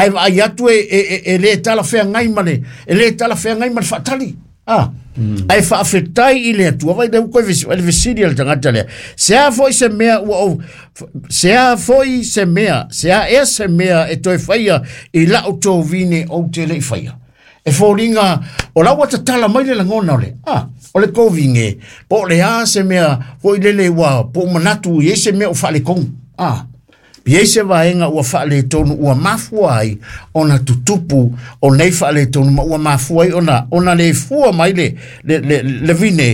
Ae vaai atu e le talafeagai ma le, e le talafeagai ma le faatali. Ah. Ae faafetai i le Atua. Vai le koe vesi, le vesili a le tagata lea. Se a foi se mea ua ou, se a foi se mea, se a ea se mea e toe faia i lau tovine ou te le i faia. E foliga o la ua tatala mai le lagona o le, ah, o le kovine, po o le a se mea foi lele ua po o manatu i ai se mea o faaletonu. Ah. I ai se vaega ua faaletonu ua mafua ai ona tutupu o nei faaletonu ma ua mafua ai ona, ona le fua mai le, le, le, le vine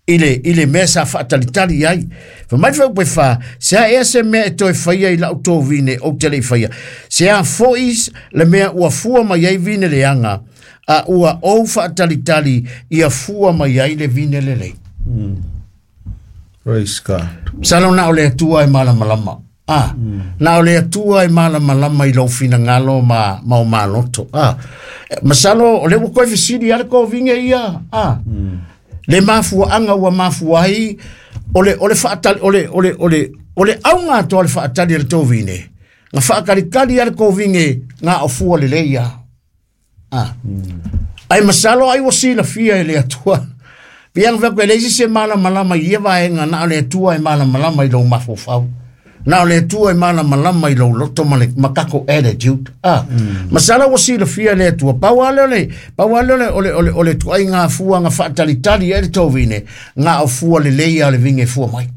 i le, i le mea sa faatalitali ai. Fai mai le fuaiupu 4, se a ea se mea e toe faia i lau tovine ou te le i faia. Se a foi le mea ua fua mai ai vine leaga, a ua ou faatalitali ia fua mai ai le vine lelei. Praise God. Masalo na o le Atua e malamalama. Ah, na o le Atua e malamalama i lou finagalo ma, ma o maloto. Ah, masalo o le ua koe fesili a le kovinge ia. Ah, le mafuaanga ua mafua ai o le, o le faatali, o le, o le, o le, o le auga atoa le faatali a le tovine. Nga faakalikali a le kovinge nga o fua lelei ia. Ah. Ai masalo ai ua silafia e le Atua. Pia nga fai le isi se malamalama i ia vaega na o le Atua e malamalama i lou mafaufau. Na o le Atua e malamalama i lou loto ma le ma kako attitude. Ah. Masalo ua silafia e le Atua. Pau lava lea o le pau lava lea o le o le o le o le tuaiga fua nga faatalitali ai le tovine nga o fua lelei a le vinge fua mai.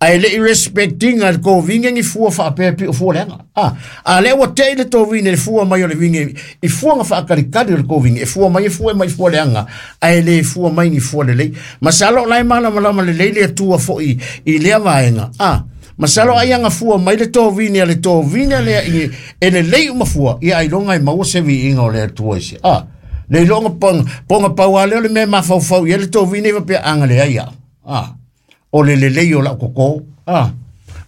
Ae le i respect ina le tovine ni fua faapea pei o fua leaga. A, a lea ua tei le tovine le fua mai o le vine i fua na faakalikali o le tovine, e fua mai e fua mai fua leaga, ae le fua mai ni fua lelei. Masalo o la e malamalama lelei le Atua foi i lea vaega. A, masalo ai aga fua mai le tovine a le tovine lea i e lelei uma fua, ia ailoga e maua se viiga o le Atua i se. A, le iloga ponga, ponga pau lava lea o le mea e mafaufau i ai le tovine i faapea aga leai au. A, o le lelei o lau koko, a,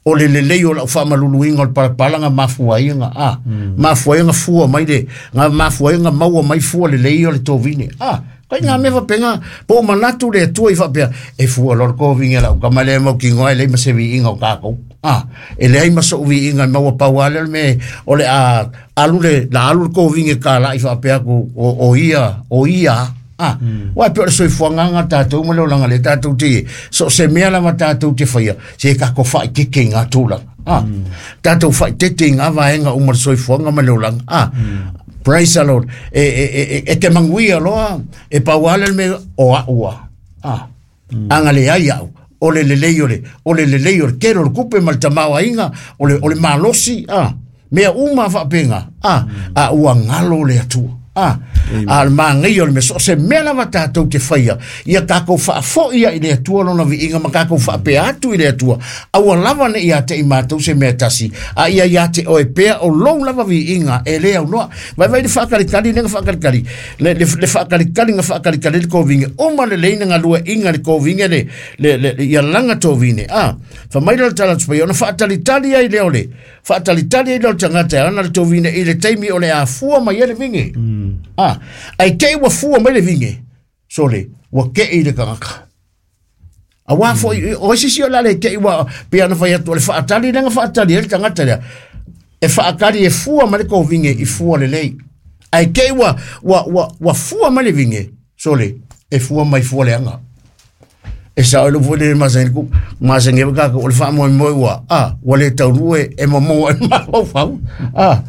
o le lelei o lau faamaluluina o le palapala na mafua ai ona, a, mafua ai ona fua mai le, na mafua ai ona maua mai fua lelei o le tovine, a, kai ngā mea faapena, po o manatu le Atua i faapea, e fua loa le kovine a lau tama lea e mautinoa e leai ma se viiga o tatou, a, e leai ma sou viiga e maua pau lava lea o le mea o le a alu le, la alu le kovine kālaʻi faapea atu o, o ia, o ia, Ah, Uae pei o le soifuaga lena tatou ma le olaga lea tatou te so o se mea lava tatou te faia, se tatou faaeteete i ngā tulaga. Ah, Tatou faaeteete i ngā vaega uma o le soifuaga ma le olaga. Ah, Praise the Lord. E, e, e, e, e te manuia loa, e pau lava lea le mea o au a. Ah, Aga leai au, o le lelei o le, o le lelei o le tele o le tupe ma le tamaoaiga, o le, o le malosi, ah, mea uma faapena, ah, a ua galo le Atua. Ah, a o le manaia o le mea, so o se mea lava tatou te faia, ia tatou faafoi ai i le Atua lona viiga ma tatou faapea atu i le Atua, aua lava ne i ia te i matou se mea e tasi, a ia ia te oe pea o lou lava viiga e le aunoa. Vaivai le faakalikali lea na faakalikali, le, le, le faakalikali na faakalikali le kovine, uma lelei na galueaiina le kovine le, le, le, le, ia laga tovine. Ah, fai mai lea o le tala atu paia, ona faatalitali ai lea o le, faatalitali ai lea o le tagata e ana le tovine i le taimi o le a fua mai ai le vine. Ah, ae te i ua fua mai le vine, sole, ua kei le tagata. Auā foi, o isi sio la le te i ua, pei ona fai atu, o le faatali lea na faatali ai le tagata lea, e faatali e fua mai le kovine i fua lelei. Ae te i ua, ua, ua, ua fua mai le vine, sole, e fua mai fua leaga. E sao i lou foi lele masani ku, masani ai kākou, o le faamoemoe ua, a, ua le taunuu e, e momoa ai le mafaufau. A,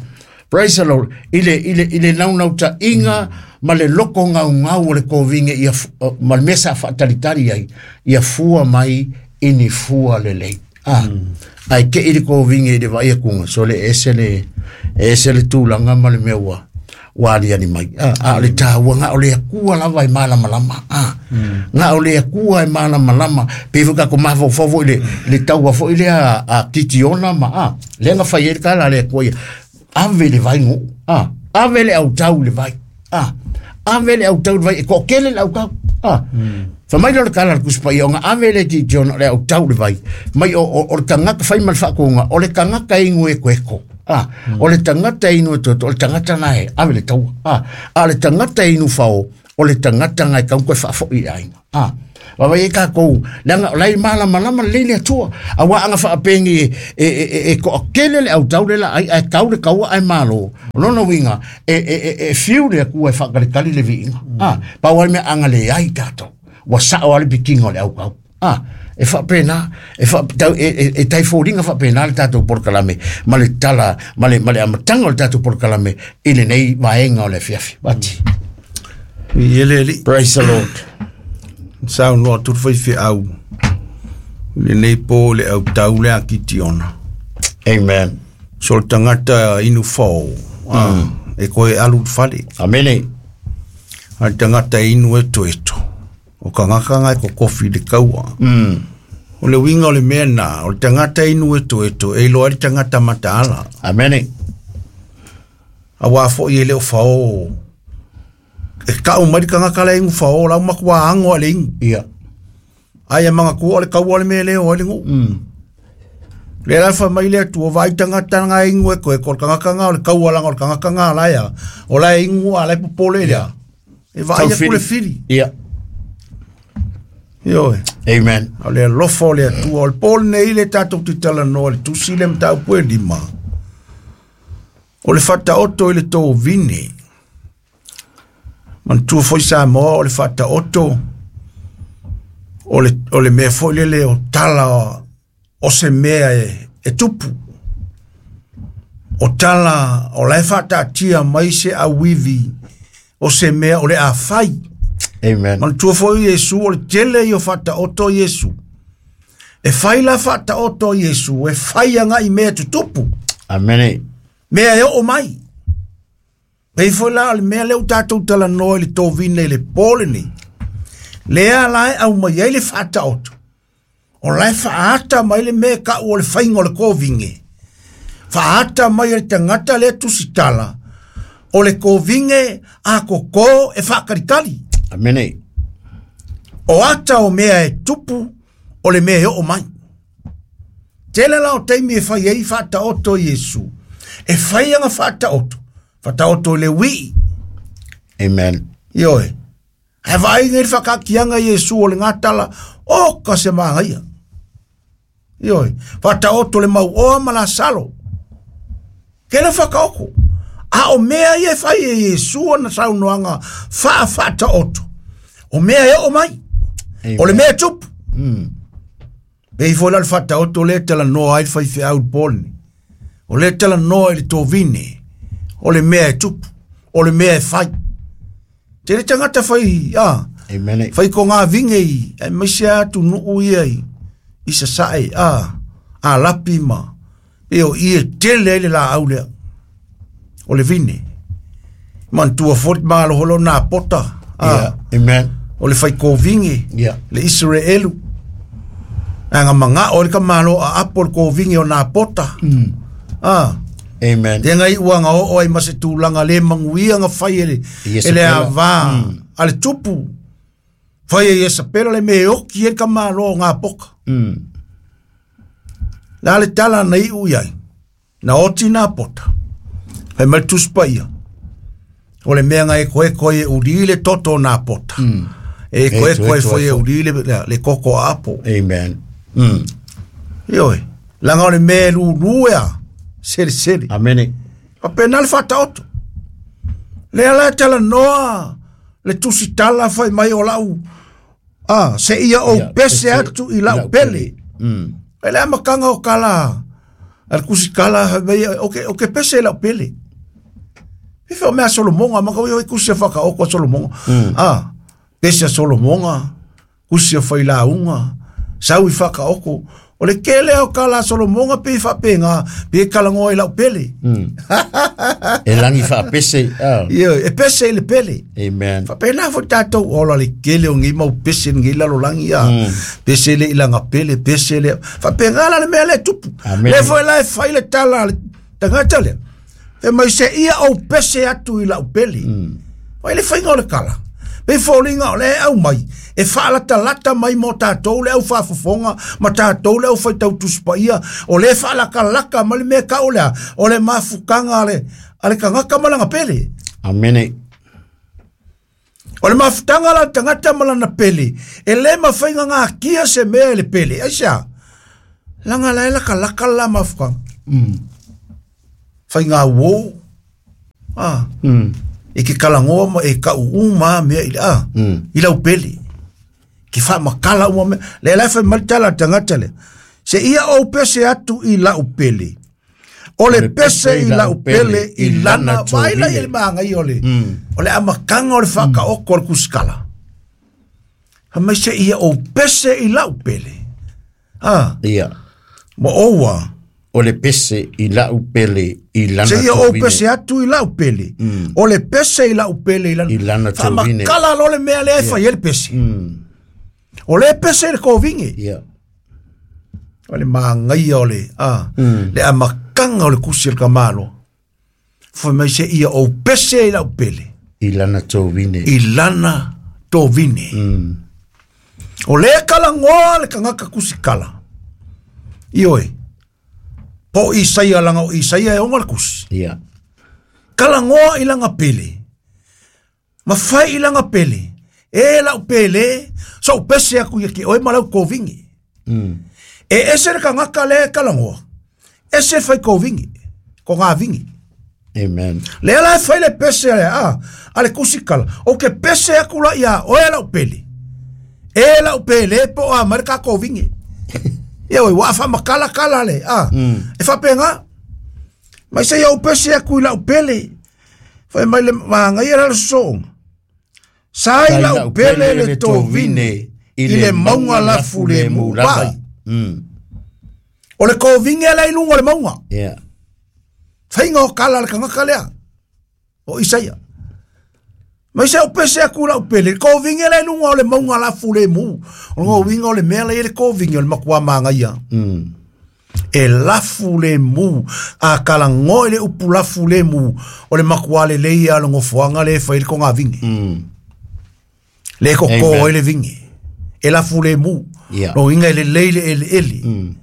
Praise the Lord. I le, i le, i le naunautaiga ma le loko gaugau o le kovine ia, ma le mea sa faatalitali ai, ia fua mai i ni fua lelei. Ah, Ae te i le kovine i le vaai atuga, so le ese le, ese le tulaga ma le mea ua, ua aliali mai. Ah, a o le taua, na o le Atua lava e malamalama. Ah, Na o le Atua e malamalama. Pei foi tatou mafaufau foi i le, le taua foi lea a Kitiona ma, ah, lea na fai ai le tala a le Atua ia, ave le vai nuu, ah, ave le autau i le vai, ah, ave le autau i le vai, e toatele le autau, ah. Fai mai lea o le tala a le Tusi Paia, ona ave lea e Kitiona o le autau i le vai, mai o, o, o le tagata fai ma le faatonuga, o le tagata e inu ekoeko, ah, o le tagata e inu etoeto, o le tagata lena e ave le taua, ah, a o le tagata e inu fao, o le tagata lena e tatau ona toe faafoi i le aiga. Ah. Vaavaai ai tatou leaga o la e malamalama lelei le Atua auā aga faapenei e e e e toatele le autau le laai ae tau le taua ae malo. O lona uiga e e e e fiu le Atua e faatalitali le viiga. A, pau lava le mea aga leai tatou ua sao lava le pikiga o le autau. A, e faapena, e fa, tau, e, e, e tai foliga faapena le tatou polokalame ma le tala ma le, ma le amataga o le tatou polokalame i lenei vaega o le afiafi. Vati. I le alii. Praise the Lord. Saunoa atu le faifeau i lenei po i le autau le a Kitiona. Amen. So le tagata inu fao, mm. e koe alu i le fale. Amene. A le tagata inu etoeto, o kangaka nga e kokofi i le kaua. Mm. O le uiga o le mea na, o le tagata inu etoeto, e iloa ai le tagata mataala. Amene. Auā foi e le o fao e kau mai le tagata la e inu fao, la ua matua ago lava i le inu. Ia. Ai e manatua o le kaua le mea e le o ai le nuu. Lea la e fai mai le Atua, vaai tagata na e inu e koe, ko le tagata na o le kaua leaga o le tagata na la e a, o la e inu a la e popole i le a. E vaai atu le fili. Ia. Ioe. Amen. O le alofa o le Atua. O le po lenei le tatou te talanoa i le tusi le mataupu e lima. O le faataoto i le tovine. Manatua foi Samoa o le faataoto o le, o le mea foi lele o tala o se mea e, e tupu. O tala o la e faataatia mai se auivi o se mea o le a fai. Amen. Manatua foi Iesu o le tele ia o faataoto Iesu. E fai la faataoto Iesu, e fai agai mea tutupu. Amene. Mea e oo mai. Pei foi la o le mea lea ua tatou talanoa i le tovina i le po lenei. Lea la e aumai ai le faataoto. O la e faaata mai le mea e kau o le faiga o le kovige. Faaata mai e le tagata lea tusitala o le kovige a koko e faatalitali. Amene. O ata o mea e tupu o le mea e oo mai. Tele la o taimi e fai ai faataoto Iesu. E fai aga faataoto. Faataoto i le uii. Amen. Ioe. Ae vaai nei le whakaakianga i Iesu o le ngatala, o ka se māngaia. Ioe, whataoto le mau oa ma la salo. Ke le whakaoko. A o mea ia e whai e Iesu ana saunoanga wha whataoto. O mea e o mai. Amen. O le mea e tupu. Pei foi la le faataoto lea e talanoa ai le faifeau i le po lenei. O lea e talanoa i le tovine, o le mea e tupu, o le mea e fai. Tele tagata fai, a, Amen. fai ko ngā vinge i, aemaise lava atunuu ia i, i Sasae, a, a lapi ma, pei o i e tele ai le laau lea, o le vine. Manatua foi le maloholo nā pota, a, Yeah. Amen. o le faikovinge Yeah. le Iseraelu aga mangao le kamalo a apo le kovinge o nā pota ah Amen. te ngai uanga o ai ma se tulaga le manuia nga fai e le Iesapela. e le ava a le tupu fai e Iesapela le me oki e kamalo o ngā poka la le tala na iu iai na oti nā pota fai mai le Tusi Paia o le mea nga e koe koe e uli le toto o nā pota e koe E koe toe foi e foi. uli le, le koko a apo Amen. Ioe langa o le mea e lulu ea sele sele Amene. Faapena le faataoto. Lea la e talanoa le tusitala fai mai o lau a se ia ou Ia, pese pese atu i lau pele. E le amataga o kala a le kusikala fai mai o ke o ke pese i lau pele. Fife o mea Solomonga ma kau i kusi a whakaoko a Solomonga. Ah, pese a Solomonga, kusi a whailaunga, sau i whakaoko. O le kele o kala a Solomonga pe i whapenga, pe i kalangoa i lau pele. E langi whaapese. Ah. Ia, e pese i le pele. Amen. Faapena foi tatou ola le kele o nei mau pese nei lalolagi a pese le ilaga pele pese le faapena la le mea lea e tupu Amen. le foi la e fai le tala a le tagata lea e mai se ia ou pese atu i lau pele fai le faiga o le kala pe foliga o le aumai e faalatalata mai mo tatou le aufafofoga ma tatou le aufaitau tusipaia o le faalakalaka ma le mea kau lea o le mafukaga a le tagata ma laga pele Amene. O le mafutaga la tagata ma lana pele, e le mafai ngakia se mea e le pele. Ai sea, langa la e laka laka la mafutaga. Faiga uō. Ah. E ke kalagoa ma e kauʻū ma mea i le a. I lau pele. Ke faamakala uma mea. Le la e fai mai le tala a le tagata lea. Se ia ou pese atu i lau pele. O le pese i lau pele i lana vaai la i le magaia o le o le amataga o le faataoto o le kusikala. Fai mai se ia ou pese i lau pele. Ah. Ia. Ma oua. O le pese i lau pele i lana Se ia ou pese atu i lau pele. O le pese i lau pele i lana. I lana tovine. Faamakala lo le mea lea e fai ai le pese. O le pese i le kovine. Ia. O le magaia o le, a, le amataga o le kusi a le tamaloa. Fai mai se ia ou pese i lau pele. I lana tovine. I lana tovine. O le kalagoa le tagata kusikala. Ioe. Po o Isaia langa o Isaia e ona le kusi. Ia. Kalagoa i lana pele. Ma fai i lana pele. E lau pele, so pese aku ia ke oe ma lau kovine. E ese le tagata le kalagoa. Ese fai kovine. Ko ngā vingi. Amen. Le ala e fai le pese ale a, a le kusikala. O ke pese aku la ia, oe lau pele. E lau pele po a mai le ka kovine. Ia oi, wa fa makala kala le, a. E fapenga. Mai se iau pese aku i lau pele. Fai mai le maangai la le sosoonga. Sa i lau pele le tovine i le mauga lafu le mu lava. O le kovine la i luga o le mauga. Yeah. Faiga o kala le tagata lea. O Isaia. Mai se au pese aku lau pele. Le kovine la i luga o le mauga lafu le mu. O le uiga o le mea la i le kovine o le matua magaia. E lafu le mu. A kalagoa i le upu lafu le mu. O le matua lelei ia o le gofoaga le e fai le kogavine. Le koko ai le vine. E lafu le mu. Yeah. Lo uiga e lelei le eleele.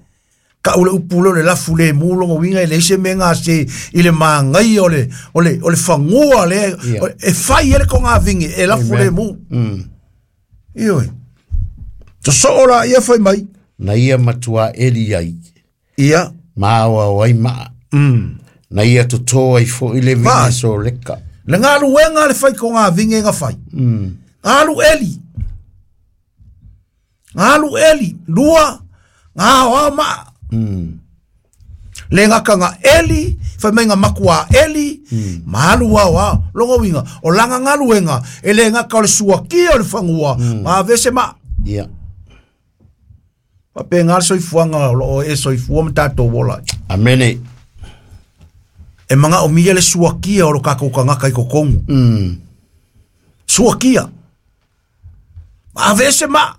Ka o le upu lea o le lafu le mu logo uiga e leai se mea gase i le magaia o le, o le, o le fagua lea Yeah. e fai ai le kogavine e lafu le mu. Ioe. Sosoo la ia fai mai. Na ia matua eli ai. Ia. Ma aoao ai maa. Na ia totō ai foʻi le vine Vai. soleka. Le galuega le fai kogavine ga fai. Galu eli. Galu eli. Lua. Ngā aoao maa. Le ngaka nga eli, fai mai nga makua eli, ma alu ao ao, logo winga, o langa ngaluenga, e le ngaka o le suakia o le fangua, ma vese ma. Ia. Pa pe ngā soifuanga o loo e soifua ma tātou wola. Amene. E manga o mia le suakia o lo kākou kangaka i kokongu. Suakia. Ma vese ma.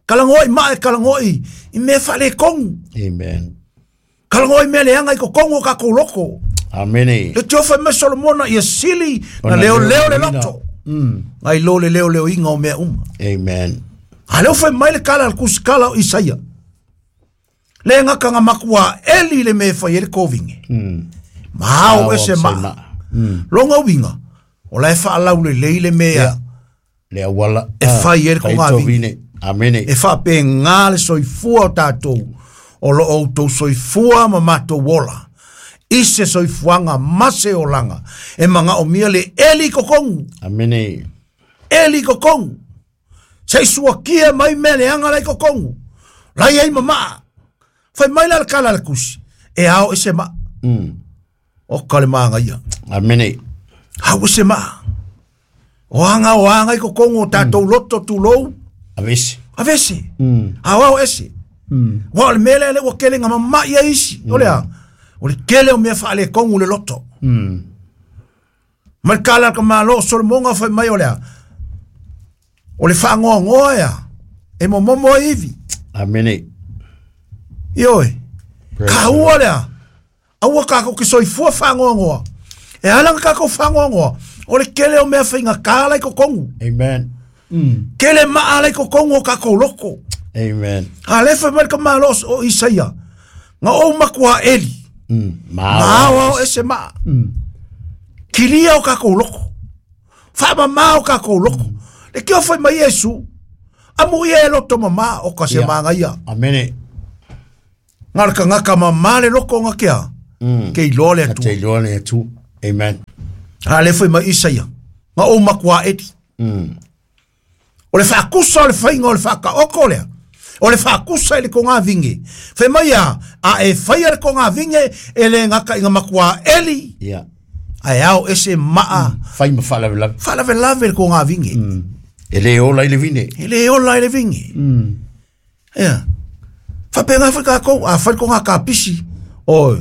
Kalangoi ma e kalangoi, i mea whale kongu. Amen. Kalangoi mea leanga i kokongu o kākou loko. Amene. Le tiofa me Solomona ia sili na Ona leo leo le leo loto. Ngai lo le leo leo inga o mea uma. Amen. A leo fai mai le kala al kusikala o Isaia. Le ngaka nga makua eli le me fai e le kovinge. Ma au ese ma. Longa winga. O la e whaalau le leile mea. Yeah. Le awala. E fai e le Fai kogavine. tovine. Amene. E whape ngā le soifua o tātou. O lo o tau soifua ma mātou ola. I se soifuanga ma se olanga. E manga o mia le eli kokongu. Amene. Eli kokongu. Se suakia mai mea le anga lai kokongu. Lai ai mamaa. Fai mai la le kala le kusi. E ao e se maa. O ka le maanga ia. Amene. Hau e se maa. O anga i kokongu o tātou loto tūlou. Avesi. Avese. Ao ao ese. Wa o le mea lea le ua kele ngā mamai ia isi. O lea. O le kele o mea whaale kongu le loto. Ma le kala ka malo o Solomonga fai mai o lea. O le whaangoa ia. E momomo e iwi. Amene. Ioe. Praise Ka ua lea. Aua kākou ki soifua whaangoa. E ala ngā kākou whaangoa. O le kele o mea whainga kāla i kokongu. Amen. Kele maa i kokongu o kākou loko. Amen. A le fai mai le ka malo o Isaia. Ngā o makua eli. Ma Ma ao ao ese maa. Kilia o kākou loko. Faamamā o kakou loko. Le kio fai mai Iesu. Amu ia e loto mamā o ka se Ia. māngaia. Amene. Ngā le kangaka mamā le loko nga kea. Ke iloa le Ka Atua. te iloa le Atua. Amen. A le fai mai Isaia. Nga o makua edi. O le whaakusa o le whainga o le whaakaoko lea. O le whaakusa i le konga vinge. Fai mai a, a e whaia le konga vinge e le ngaka i ngā makua eli. Ia. A e ao ese maa. Fai ma faalavelave. Whaalavelave le konga vinge. E le ola i le vine. E le ola i le vinge. Ia. Whapenga whai kākou, a whai konga ka pisi. Oi.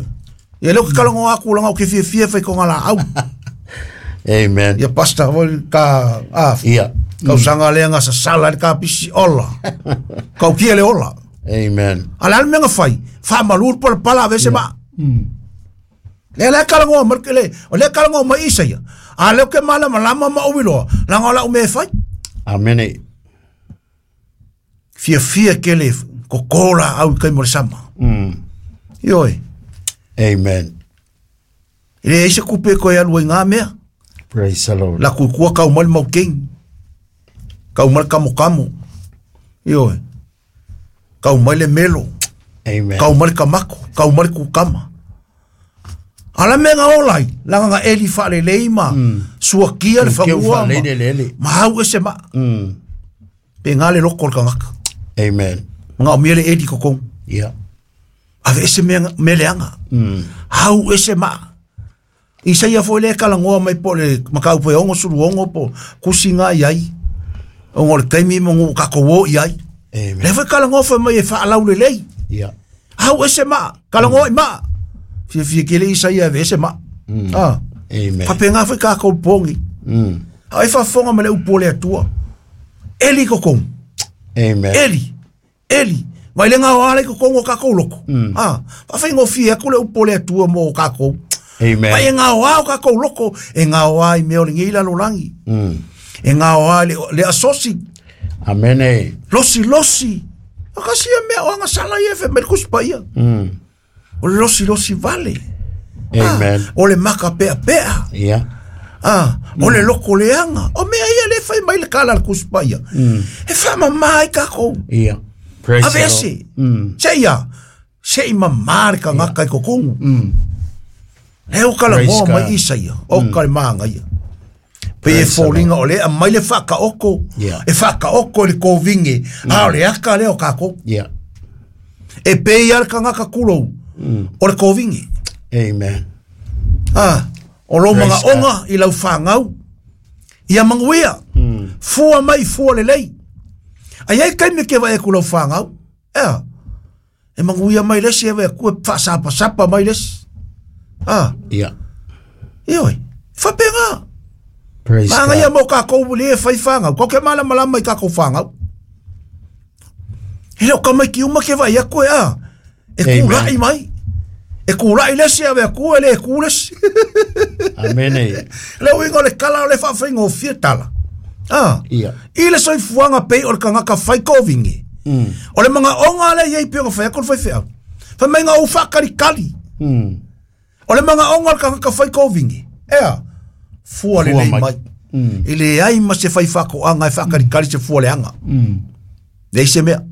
Ia leo ke kalango aku langa o ke fia fia whai konga la au. Amen. Ia pasta whai ka, a, Ia. kausanga lea sa sala le ka pisi ola. Kau kia le ola. Amen. A le almenga whai, wha malur pala pala vese ma. Le le kalango mar ke le, o le kalango mai isa ia. A leo ke mala malama ma uwiloa, langa la ume whai. Amene. Fia fia ke le kokola au kai mo le sama. Ioi. Amen. Le eise kupe koe alu ai ngā mea. Praise the Lord. La kukua kau mai mau king. Kau mai kamo kamo. Ioi. Kau mai le melo. Amen. Kau mai kamako. Kau mai kukama. Ala me ngā olai. Langa ngā eli whaale leima. Suakia le Keu whangua. whaalei le lele. Ma hau ese ma. Pe ngā le loko le kangaka. Amen. Ngā o mea le eli kokong. Ia. Ave ese mea, mea leanga. Hau ese ma. Isaia foi le kalangoa mai po le makau po e ongo sulu ongo po kusi ngā iai. Ongo le taimi mo ngu kako wo iai. Amen. Le foi kalangoa foi mai e whaalau le lei. Ia. Hau ese ma. Kalangoa i ma. Fia fia kele Isaia ave ese ma. Ah. Amen. Whapenga foi kākou pongi. Au e whafonga ma le upo le atua. Eli kokong. Amen. Eli. Eli. Vai le ngā wale kokong o kākou loko. Ah. Whawhengo fia ku le upo le atua mo o kākou. Amen. Vai e ngā oa o kākou loko, e ngā oa i mea o le ngeila lo langi. E ngā oa le, le asosi, Amene. losi losi. O kasi e mea o anga sala i e fe me kuspa ia. O le losi losi vale. Amen. Ah, o le maka pea pea. Ia. Ah, o le loko leanga. O mea ia le fai mai le kala le kuspa ia. E whama mai kākou. Ia. Praise Ave the Lord. ese. Se ia. Se i mamā le kangaka i kokongu. Le o kala Praise moa God. mai isa ia. O kale maanga ia. Pe e Praise the fōlinga o le a mai le whakaoko. Yeah. E whakaoko le kōvinge. A o le aka le o kākou. Ia. E pe ia le kangaka kulou. O le kōvinge. Amen. Ah, o lo Praise manga onga i lau whāngau. Ia manguia. Fua mai fua le lei. Ai ai kai me ke vai ku lau whāngau. Ea. E manguia mai lesi e vai ku e whaasapa sapa mai lesi. Ah, Ia. ioi. Whapenga. Praise Maanga ia God. mo kākou le e whai whāngau. Kau ke mala malama i kākou whāngau. He leo kamai ki uma ke vai aku e a. E Amen. kūrai mai. E kūrai lesi a vea ku e le e kū lesi. Amene. Le uiga o le kala o le faafaiga o fia tala. Ah. Ia. I le soifuaga pei o le kagaka fai koviga. O le magaoga lea iai pei ona fai atu le faifeau. Faimaiga ou faakalikali. O le magaoga o le kagaka fai koviga. Ea. Fua lelei mai. mai. E leai ma se fai faakoaga e faakalikali se fua leaga. Leai se mea.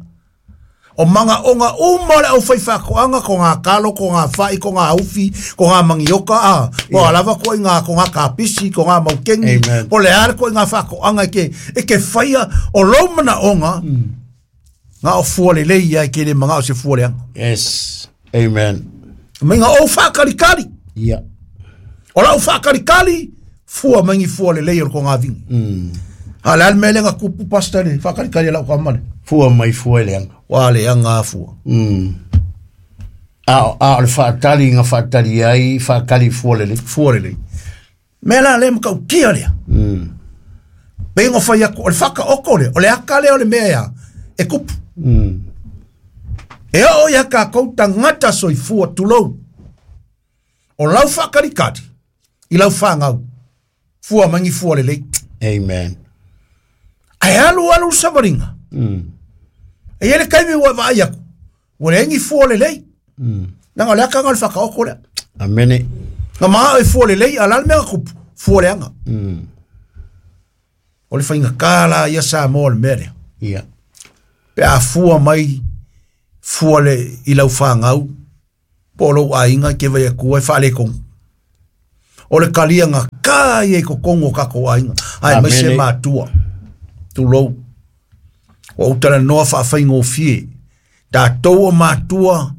O magaoga uma o le aufai faakoaga ko ngā kalo, ko ngā whai, ko ngā ufi, ko ngā mangioka, a, ko yeah. lava ko i ngā, ko ngā kapisi, ko ngā maukengi, Amen. po le are ko i ngā faakoaga e ke, e ke whaia o lou manaoga, ngā o fua le lei ia e ke le manga o se fua leanga. Yes. Amen. Mai ngā o whaakalikali, Ia. o lau whaakalikali, fua mangi fua le lei o ko ngā vingi. A le ale mele ngā kupu pasta le, whaakalikali e lau kamale. Fua mai fua i leanga. Wa le anga fua. A a o le whaatali ngā whaatali ai, whaakali fua lele. Fua le lei. Mea la le makau kia lea. Pe ingo whai aku, o le whakaoko le, o le aka lea o le mea ia, e kupu. E o ia ka kouta ngata soifua tulou. O lau whakarikari, i lau whangau, fua mangi fua le lei. Amen. Ai alu alu savaringa. E ele kaimi ua vaai aku, ua le engi fua le lei. Nanga o le aka ngā le whakaoko lea. Amene. Ngā maa e fua le lei, a la le mea kupu, fua le anga. O le faigata la ia Samoa o le mea lea. Ia. Pe a fua mai fua le i lau fanau po o lou aiga e te vai atua e faaletonu. O le kaliaga ka ia i totonu o tatou aiga, aemaise Amene. matua. Tulou. Ua ou talanoa faafaigofie. Tatou o matua,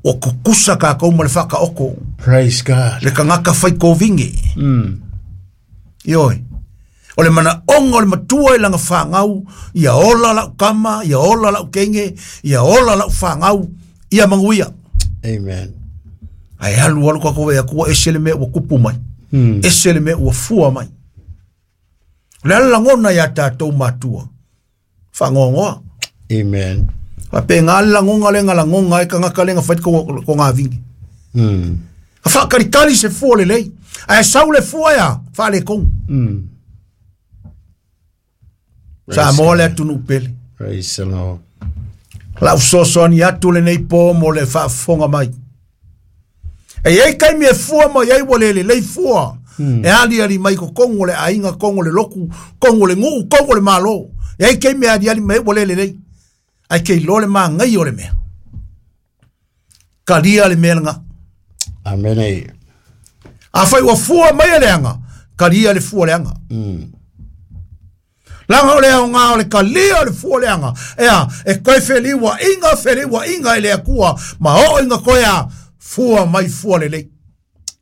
ua tutusa tatou ma le faataoto. Praise God. Le tagata fai kovige. Ioe. O le manaoga o le matua i lana fanau, ia ola lau tama, ia ola lau teine, ia ola lau fanau, ia manuia. Amen. Ae alu alu tatou vaai atu ua ese le mea ua tupu mai. Ese le mea ua fua mai. O le a le lagona ia tatou matua? Faanoanoa. Amen. Faapena le lagona lea na lagona ai tagata lea na fai le togafine. Ka faakalikali se fua lelei. Ae sau le fua ia, faaletonu. Samoa le atunuu pele. Praise the Lord. Lau fesoasoani atu lenei po mo le faafofoga mai. E i ai taimi e fua mai ai ua le lelei fua. E aliali mai totonu o le aiga, totonu o le lotu, totonu o le nuu, totonu o le malo. E i ai taimi e aliali mai ai ua le lelei. Ae ke iloa le magaia o le mea. Kalia le mea lena. Amene. Afai ua fua mai e leaga, kalia le fua leaga. Laga o le aoga o le kalia o le fua leaga. Ea, e koe feliuaʻiga, feliuaʻiga i le Atua, ma oo ina koe a fua mai fua lelei.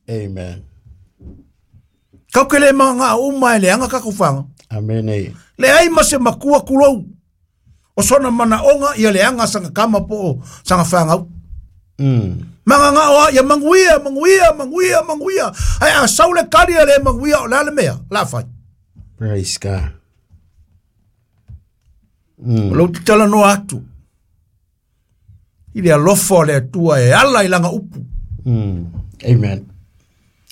Amen. Kau ke le magaga uma e leaga tatou faga. Amene. Leai ma se matua tulou. O sona manaoga ia leaga saga tama po o saga fagau. Magaga o a ia manuia, manuia, manuia, manuia. Ae a sau le kali a le manuia o le a le mea, la fai. Praise God. O lou talanoa atu. I le alofa o le Atua e ala i lana upu. Amen.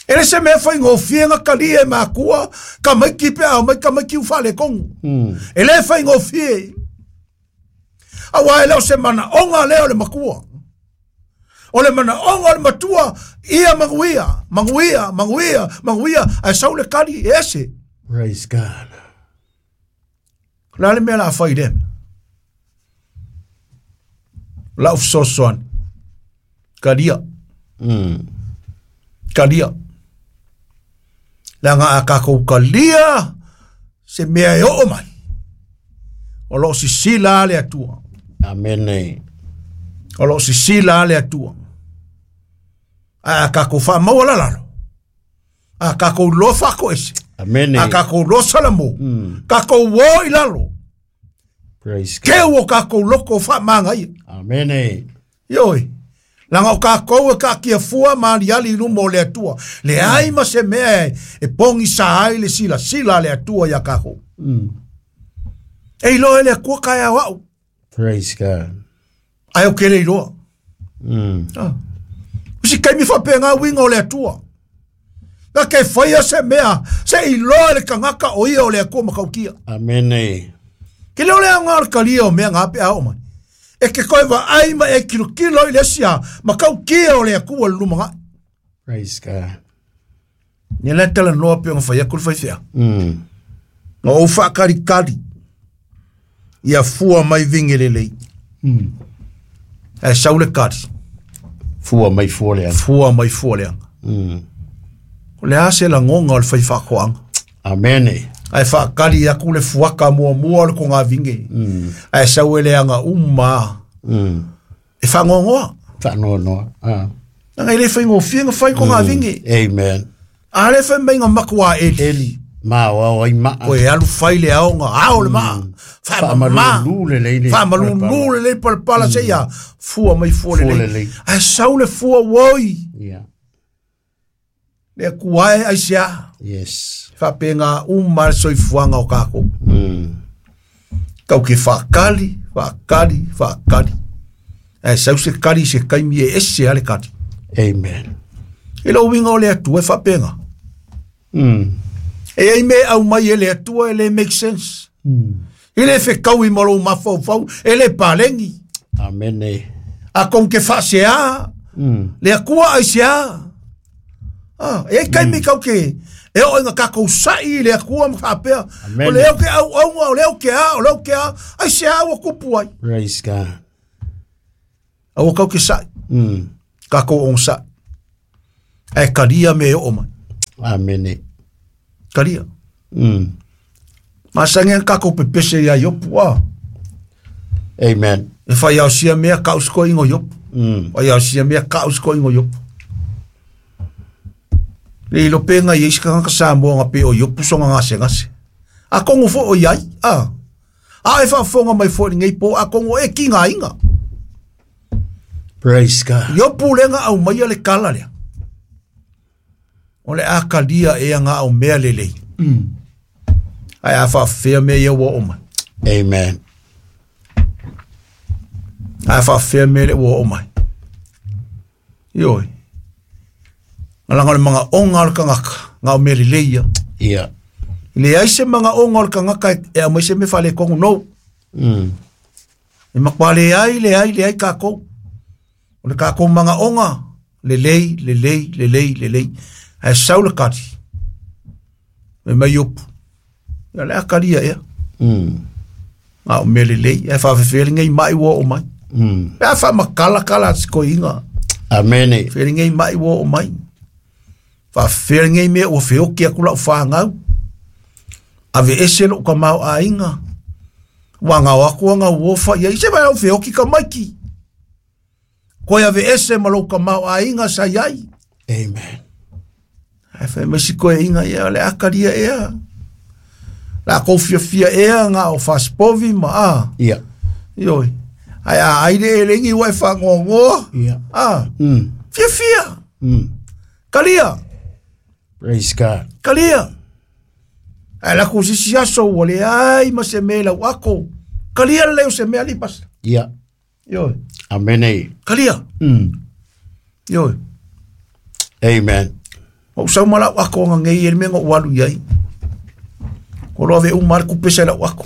E le se mea faigofie na kalia e makua, tamaiti pe a omai tamaiti ua faaletonu. E le faigofie. Auā e le o se manaoga lea o le makua. O le manaoga o le matua, ia manuia, manuia, manuia, manuia, ae sau le kali e ese. Praise God. O le a le mea o le a fai i lea mea? Lau fesoasoani. Kalia. Kalia. Leaga a tatou kalia se mea e oo mai. O lo o sisila le Atua. Amene. O lo o sisila le Atua. Ae a tatou faamaua lalalo. A tatou iloa faatoese. Amene. A tatou iloa salamo. Tatou o i lalo. Praise God. Keu o tatou loko faamagaia. Amene. Ioe. Laga o tatou e kaatia fua ma aliali i luma o le Atua. Leai ma se mea e pogisa ai le silasila a le Atua ia tatou. E iloa e le Atua taeao au. Praise God. Ae ou te le iloa. Ah. O si taimi faapena uiga o le Atua. Na ke faia se mea, se iloa e le tagata o ia o le Atua matautia. Amene. Ke le o le aoga o le kalia o mea ngā pe a oo mai. E ke koe vaai ma e kilokilo i le isi a matautia o le Atua i le lumanai. Praise God. Ia le talanoa pe ona fai atu le faifeau. Na ou faakalikali ia fua mai vige lelei. Ae sau le kali, Fua mai fua leaga. fua mai fua leaga. O le a se lagoga o le fai faatoaga. Amene. Ae faakali atu le fuaka muamua o le kogavige. Ae sau e leaga uma e faanoanoa. Faanoanoa. Ah. Leaga e le faigofie na fai kogavige. Amen. A le fai mai na matua eli. Eli. Ma o au ai maa. Koe alu fai le aoga, ao le maa. Faamama. Faamalulu lelei le Faamalulu lelei palapala seia fua mai fua Fua lelei. lelei. Ae sau le fua oi. Yeah. Le Atua e aisea. Yes. Faapena uma le soifuaga o tatou. Tau ke faakali, faakali, faakali. Ae sau se kali i se taimi e ese a le kali. Amen. I lou uiga o le Atua e faapena. E ai mea e aumai e le Atua e le make sense. E le fekaui ma lou mafaufau, e le palegi. Amene. A kou te faasea, le Atua aisea. E ai taimi kau ke e o inga kakou sa'i i le Atua ma faapea, Amen. o le au ke auaunga, o le au ke a, o le au ke a, ai se a ua kupu ai. Praise God. Aua kau ke sa'i, kakou o sa'i. Ae kalia me e oo mai. Amene. Kalia. Masangi ang kakou pepese ia Iopu a. Amen. E whai au sia mea ka usko ingo Iopu. Whai au sia mea ka usko ingo Iopu. Le ilo penga i isi kanga Samoa nga pe o Iopu songa ngase ngase. A kongo fo o iai, a. A e whaafonga mai fo ni ngei po, a kongo e ki ngā inga. Praise God. Iopu lenga au mai le kala lea. O le a kalia e ngā au mea lelei. Ai a whaafea mea ia ua o mai. Amen. A whaafea mea le ua o mai. Ioi. Ngalanga o le manga onga o le kangaka, ngā o mea lelei ia. Yeah. Le ai se manga onga o le kangaka e au mai se me whale kongo no. E makwa le ai, le ai, le ai kākou. O le kākou manga onga, lelei, lelei, lelei, lelei. Ae sau le kari. Me mai opu. Ia le akaria ea. Ngā o mea lelei. Ae whaafewhele ngei mai ua o mai. Pea wha makala kala si koinga. Amen. Whele ngei mai ua o mai. Whaafewhele ngei mea ua whioki aku lau whāngau. Ave ese lo ka mau a inga. Wa ngā aku anga uofa ia. I se mai au whioki ka maiki. Koe ave ese ma lo ka mau a inga sa iai. Amen. Ai whai mai si koe inga ia le akaria ea. La kou fia fia ea ngā o whaspovi ma a. Yeah. Ioi. Ai a aire e lengi wai whangongoa. Yeah. A. Fia fia. Kalia. Praise God. Kalia. Ai la kou sisi aso ua le ai ma se me lau ako. Kalia leo se mea lipas. Yeah. Ioi. Amen. Kalia. Ioi. Amen. O sau ma lau ako nga ngei e me ngo walu iai. Ko loa ve umar ku pese lau ako.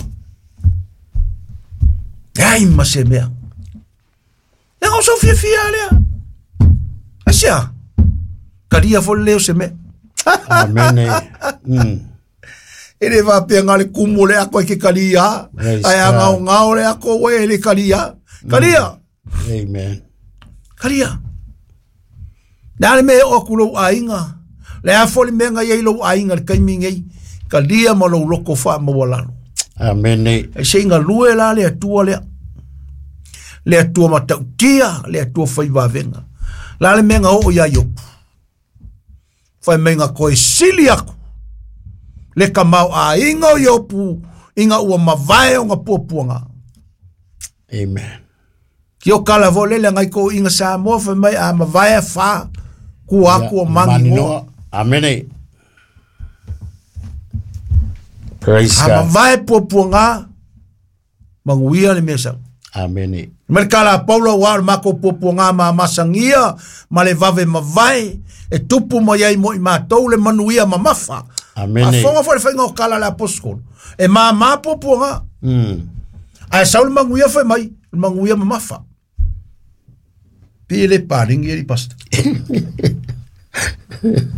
Ai ma se mea. E ngo sau fia fia lea. Asia. Kalia fo leo se mea. Amen. E le va pe ngale kumu le ako e ke kalia. Praise Ai a God. ngao ngao le ako we le kalia. Kalia. Amen. Kalia. Nā le mea o aku lou ainga. Le a foli mea ngai ai lou ainga le kaimi ngei. Kalia ma lou loko wha mawalalo. Amen. Ai se inga lue la le atua lea. Le atua matautia, le atua whai wawenga. La le mea o ia iopu. Whai mea koe sili aku. Le ka mau a inga o iopu, inga ua mavae o ngā puapuanga. Amen. Ki o kala vo lele ngai ko inga Samoa whai mai a mavae wha ku aku o mangi ngoa. Amen. Praise A God. mavae puapuanga, manguia le mea sau. Amen. Mai le kala a Paula ua o le mako puapuaga ma masagia ma le vave mavae e tupu mai ai mo i mātou le manuia mamafa. Amen. A fonga fo le whainga o kala le apostolo. E māmā puapuaga. Ae sau le manguia whai mai, le manguia mamafa. Pi le pāringi e li pasta.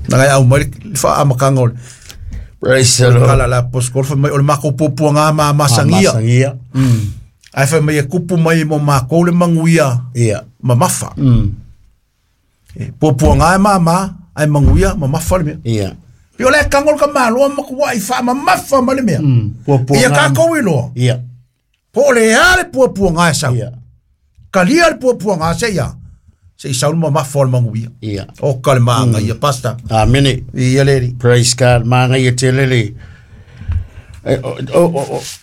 Ngai au mai le wha amakanga o le Praise the Lord. kala le apostolo whai mai o le mako puapuaga ma masagia. Masangia. Ae whai mai e kupu mai mo mākou le manguia Yeah. mamafa. E, puapuaga e māmā, ai manguia mamafa le mea. Yeah. Pi o le kangol ka maloa makua i wha mamafa ma le mea. Puapuaga. Ia kākou i loa. Yeah. Po le a le puapuaga e sau. Yeah. Kalia le puapuaga se ia. Se i sau le mamafa o le manguia. Yeah. O ka le maanga ia pasta. Amen. Ia le ri. Praise God. Maanga ia te lele.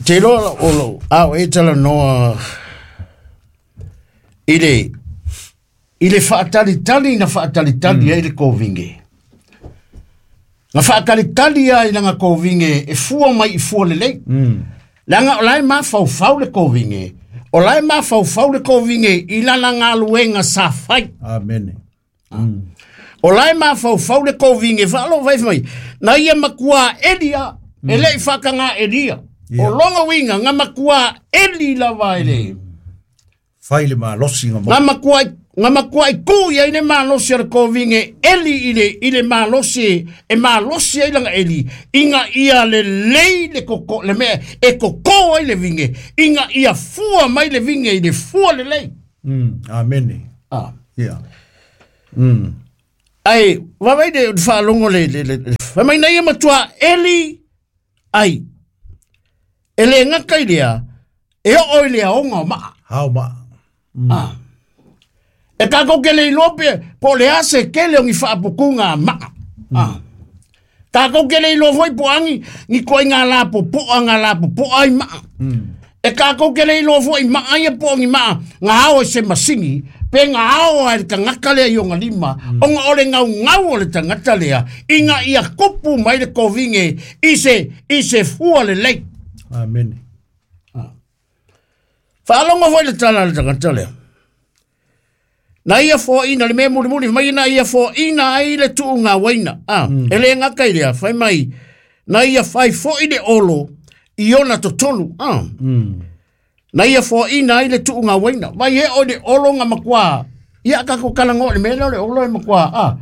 Te loa o lo ao e tala noa i le whaatalitali na whaatalitali ai le kōvinge. Na whaatalitali ai langa kōvinge e fua mai i fua lelei. Langa o lai mawhaufau le kōvinge. O lai mawhaufau le kōvinge i lala ngā luenga sa whai. Amen. O lai mawhaufau le kōvinge whaalo vai mai. Na ia makua Elia, e lei whakanga Elia. Yeah. O longa winga, ngā makua Eli lava e le. Whai le malosi ngā Ngā makua Nga makuai ku ia i le malosi o le kovinge eli i le malosi e malosi ai langa eli inga ia le lei le koko le mea e koko ai le vinge inga ia fua mai le vinge i le fua le lei. Amen. Ah. Yeah. Ai, vavai le whaalongo le whamai na ia matua eli ai. E le ngaka i lea, e o i lea onga o maa. Hao maa. Ah. E kako ke le ilope, po le ase kele o ngi whaapukunga a maa. Ah. Kako ke le ilo foi po angi, ngi koe ngā la po poa, ngā la po poa ai maa. E kako ke le ilo foi maa ia po ngi maa, ngā ao e se masingi, pe ngā ao a le tangata lea i onga lima, onga ole ngau ngau o le tangata lea, inga ia kupu mai le kovinge, i se fua le lei. Amen. Whaalongo foi le tala le tangata lea. Na ia fō ina le mea muri muri mai na ia fō ina ai le tuu ngā waina. Ah, e le ngaka i lea, whai mai, na ia whai fō i le olo i ona totonu. Ah. Na ia fō ina ai le tuu ngā waina. Mai e o le olo ngā makua. Ia ka ko kala ngō le mea le olo e makua. Ah.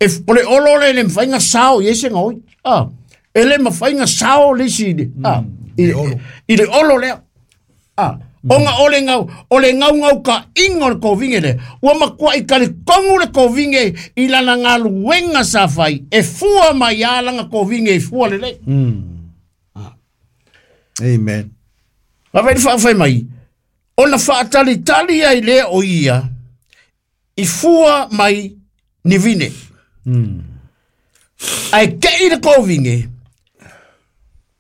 E o le olo le le mwhainga sao i ese ngā oi. Ah. E le mwhainga sao le isi le. Ah. I le olo lea. Ah. Onga ole ngau ngau ka inga o le kovinge le. Ua makua i kare kongu le kovinge i lana ngā luenga sa whai. E fua mai a langa kovinge i fua le le. Amen. Nga whai wha mai. Ona whaatali tali ai le o ia i fua mai ni vine. Ai ke i le kovinge.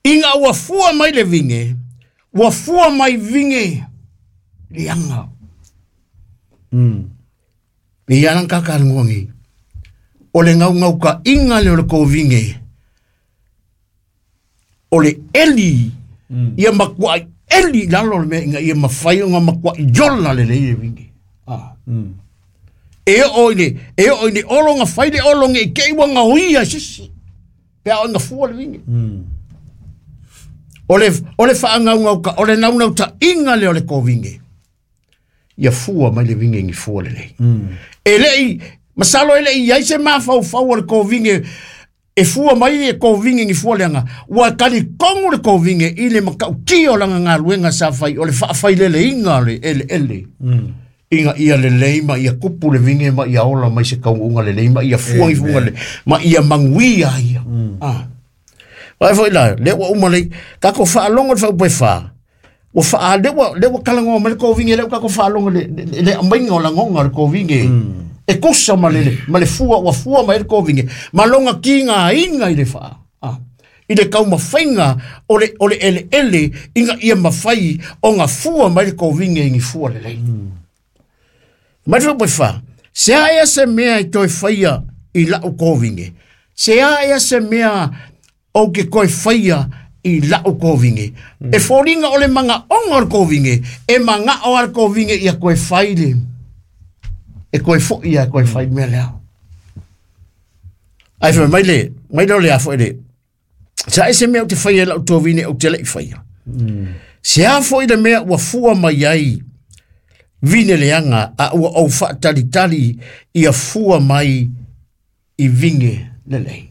Inga ua fua mai le vinge. Ua fua mai vinge lianga. Ni ia nang kaka ngongi. O le ngau ngau ka inga le o le kovinge. O le eli. Ia makua eli lalo le mea inga ia mawhai o ngā makua i yola le le vinge. Ah. E o i le olo ngā whai le olo nge i kei wa ngā uia sisi. Pea o ngā fua le vinge. O le whaangau ngau ka, o le nau nau ta inga le o le kovinge. Ia fua mai le vinge ngi fua le lei. E lei, masalo e lei, iai se mawhau whau o le kovinge, e fua mai e kovinge ngi fua leanga. Ua kali kongu le kovinge i le makau tio langa ngā luenga sa whai, o le whaawhai lele inga le ele ele. Inga ia le lei ma ia kupu le vinge ma ia ola mai se kaunga le lei ma ia fua ngi fua le, ma ia manguia ia. Ah. Vai foi lá, le ua uma lei, kako whaalongo le whaupai wha. Ua wha, le ua kalangoa ma le kovinge, le ua kako whaalongo le amainga o langonga le kovinge. E kusa ma le fua, ua fua ma le kovinge. Ma longa ki ngā inga i le wha. Ah. I le kau mawhainga o le ele ele, inga ia mawhai o ngā fua ma le kovinge ingi fua le lei. Mai le whaupai wha, se aia se mea i toi whaia i lau kovinge. Se aia se mea o ke koe whaia i lau kovinge. E fōringa o le manga onga o le kovinge, e manga o le kovinge ia koe whaile. E koe fo ia koe whai mea lea. Ai whai mai le, mai le o le afo e le. Sa e se mea o te whaia lau tōvine o te lei whaia. Se a fo i le mea ua fua mai ai vine leanga a ua au whaatalitali ia fua mai i vinge le lei.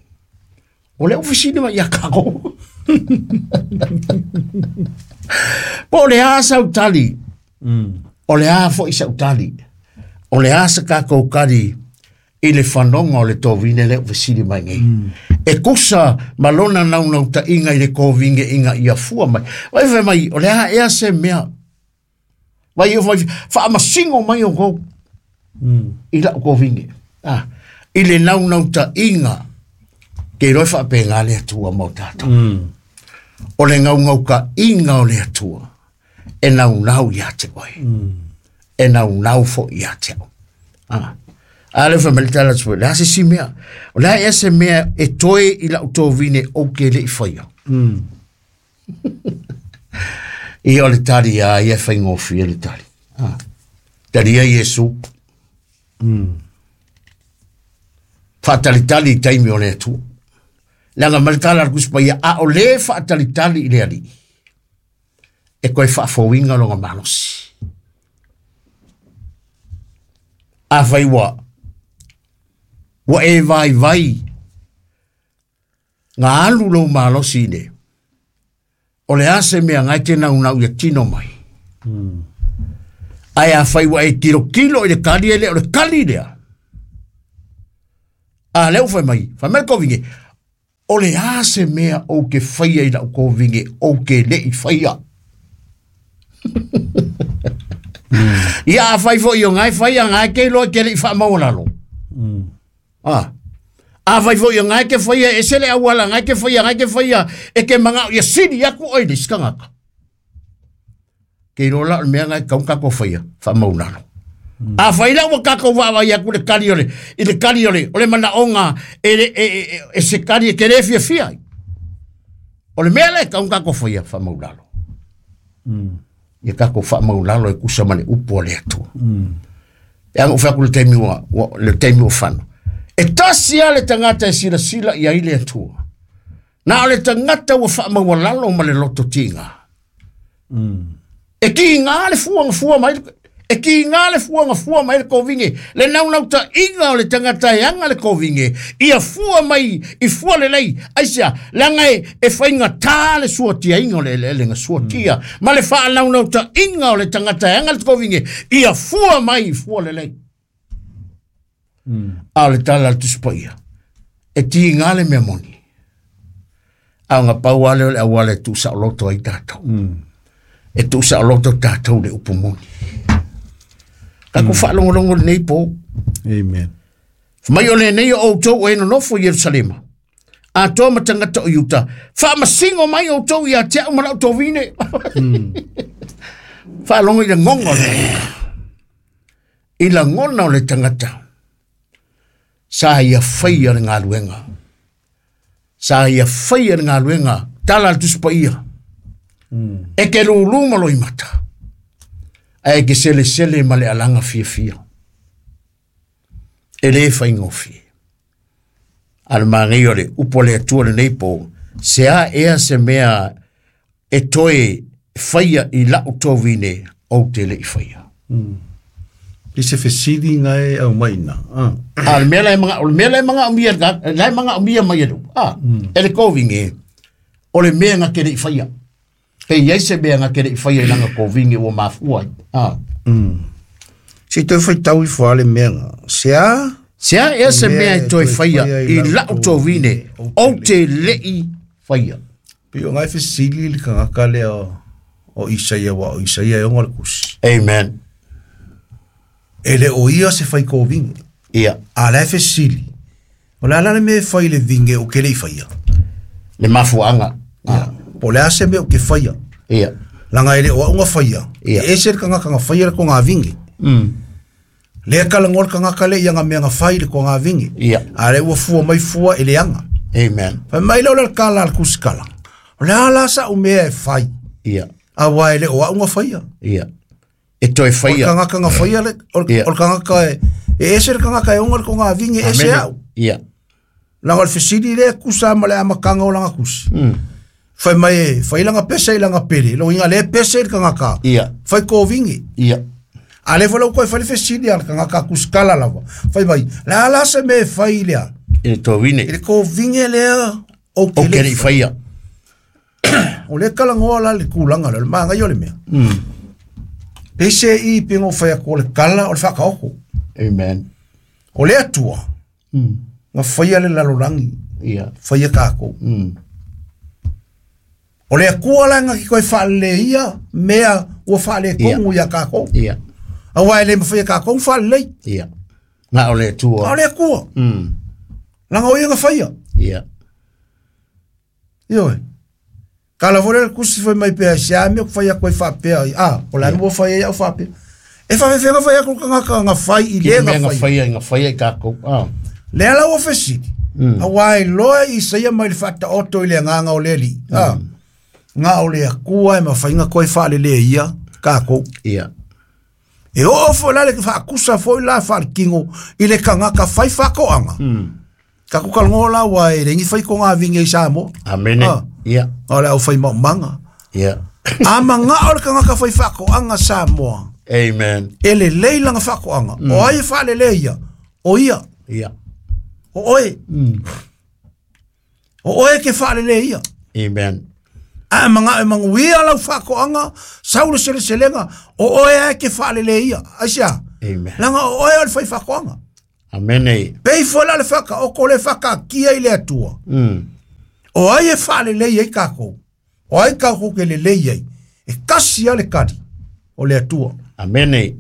O le ofisini mai ia kako. Po le a sautali. O le a fo i sautali. O le a sa kako kari i le whanonga o le tōvine le ofisini mai nei. E kusa malona nau ta inga i le kōvinge inga ia fua mai. Vai whai mai, o le a ea se mea. Vai o whai, whaamasingo mai o kou. I lau kōvinge. Ah. I le nau ta inga. Ke roi whaape ngā le atua mau tātou. O le ngau ngau ka inga o le atua. E nau nau ia te oe. E nau nau fo ia te au. Ah. A le whamele tala tue, le ase si mea. O le a se mea e toe i lau tōvine o ke le i whaia. I o le tari a ia whai ngōwhia le tari. Ah. Tari a Yesu. Whaatalitali i taimi o le atua. Langa maritala al kuspa ia a o le whaatalitali i le ali. E koe whaafowinga longa malosi. A fai ua ua e vai vai ngā alu lou malosi le. O le ase mea ngai te nau nau ia tino mai. Ai a fai ua e kilo kilo i le kali e le o le kali lea. A leu fai mai, fai mai kovinge. O le ase mea o ke whaia i lau kovinge o ke le i whaia. Ia a fai fo i o ngai whaia ngai ke loa ke le i wha maulalo. Ah. A fai fo i o ngai ke whaia e sele awala ngai ke whaia ngai ke whaia e ke manga ia siri aku oi le skangaka. Ke rola o mea ngai kaunga ko whaia wha maulalo. A fai la ua kako wawa ia ku le kali ole i le kali ole o le mana onga e se kali e ke le fia fia. O le mea le kaunga ko whaia wha maulalo. Ia kako wha maulalo e kusa mane upo le atu. E anga uwha ku le taimi ua, le taimi ua whano. E tasi a le tangata e sila sila ia i le atua. Nā o le tangata ua wha maulalo ma le loto tinga. E ki ngā le fuanga fua mai, e ki ngā le fuanga fua mai le kovinge. Le nau nau ta inga o le tangata e anga le kovinge. Ia fua mai, i fua le lei. Aisia, langa e whainga tā le suatia inga o le ele nga suatia. Ma le wha nau nau ta inga o le tangata e anga le kovinge. Ia fua mai, i fua le lei. A le tala le tuspa ia. E ti ngā le mea moni. A ngā pau ale o le awale tu sa loto ai tātou. E tu sa loto tātou le upu moni. Ka ko whaalongolongo le nei pō. Amen. Mai o le nei o outou e nonofo i Yerusalema. A toa matangata o Yuta. Whaamasingo mai outou ia te au marau tō vine. Whaalongo i la ngongo le. I la ngona o le tangata. Sa ia whaia le ngā luenga. Sa ia whaia le ngā luenga. Tala al tuspa ia. E ke lulu malo i mata. Ae ke sele sele ma le alanga fia fia. E le whaingo fia. A le maangai o le upo le atua le nei pō. Se a ea se mea e toe whaia i lau tō vine o te le i whaia. I se fesili ngai au maina. A le mea lai manga, o le mea lai manga o mia, lai manga o mia mai e Ah, e le kovinge, o le mea ngā kere i whaia. Pe iai se mea ngā kere i whaia i langa kovinge ua mafua. Ah. Se toi whai tau i wha le mea ngā. Se a? Se a ea se mea e toe whaia i lau tō vine o te le i whaia. Pe o ngai fesili le kangaka lea o Isaia wa o Isaia e ongo le kusi. Amen. E le o ia se whai kovinge. Ia. A le fesili. O le ala le mea whai le vinge o ke le i whaia. Le mafuanga. Ah. Po le ase mea o ke whaia. Ia. Langa e le o aunga whaia. Ia. E ese le kangaka ngā whaia le ko ngā vinge. Le kala ngol kangaka le ia ngā mea ngā whai le ko ngā vinge. Ia. A le ua fua mai fua e le anga. Amen. Whai mai leo le kala le kusikala. O le ala sa u mea e whai. Ia. A wa e le o aunga whaia. Ia. E toe O le whaia. kangaka ngā whaia le, o Ia. le kangaka e, e ese le kangaka e onga le ko ngā vinge ese au. Ia. Langa le fesili le kusa ma le amakanga o langa kusi. Whai mai e, whai langa pese i langa pere. Lo inga le pese i le kangaka. Ia. Whai ko vinge. Ia. A le whalau koe whai le fesili a le kangaka kusikala lava. Whai mai, la ala se me whai lea. E le tō vine. I le ko vinge lea o O ke ke le le i whaia. O le kala ngoa la le kulanga le maanga yo le mea. Pese i pingo whai ko le kala o le whakaoko. Amen. O le atua. Nga whaia le lalorangi. Ia. Whaia kākou. O le akua la nga ki koe whaale ia, mea ua whaale kongu ia kākou. Ia. A wai le mwhia kākou whaale. Ia. Ngā o le atua. A o le akua. Langa o ia nga whaia. Ia. Ioe. Kala vore le kusi fai mai pea se a mea ku whaia koe whapea. Ah, o la nua whaia ia o whapea. E whawhewhenga whaia ko kangaka nga whai i Ki le mea nga ngā whai. whaia, ngā whaia i kākou. Ah. Le ala ua fesili. A wai loa i saia mai le whata oto i le nganga o le li. Ah. Ngā o le akua e mawhainga koe whaale le ia kākou. Ia. E o o fo la le whaakusa fo i la whaale kingo i le kangaka whai whakoanga. Ka ku kalongo la wa e rengi whai ko ngā vinge i Samoa. Amene. Ah. Ia. O le au whai maumanga. Ia. A manga o le kangaka whai whakoanga Samoa. Amen. E lelei lana faatoaga. O ai e faaleleia? O ia. Ia. O oe. O oe ke faaleleia. Amen. A manga e manuia lau faatoaga, sau le seleselega, o oe ae ke faaleleia. Aisea? Amen. Langa o oe o le faifaatoaga. Amene. Pei foi la le whakaoko le whakakia i le Atua. O ai e whaalelei ai kākou. O ai kākou ke lelei ai. E kasi a le kari o le Atua. Amene.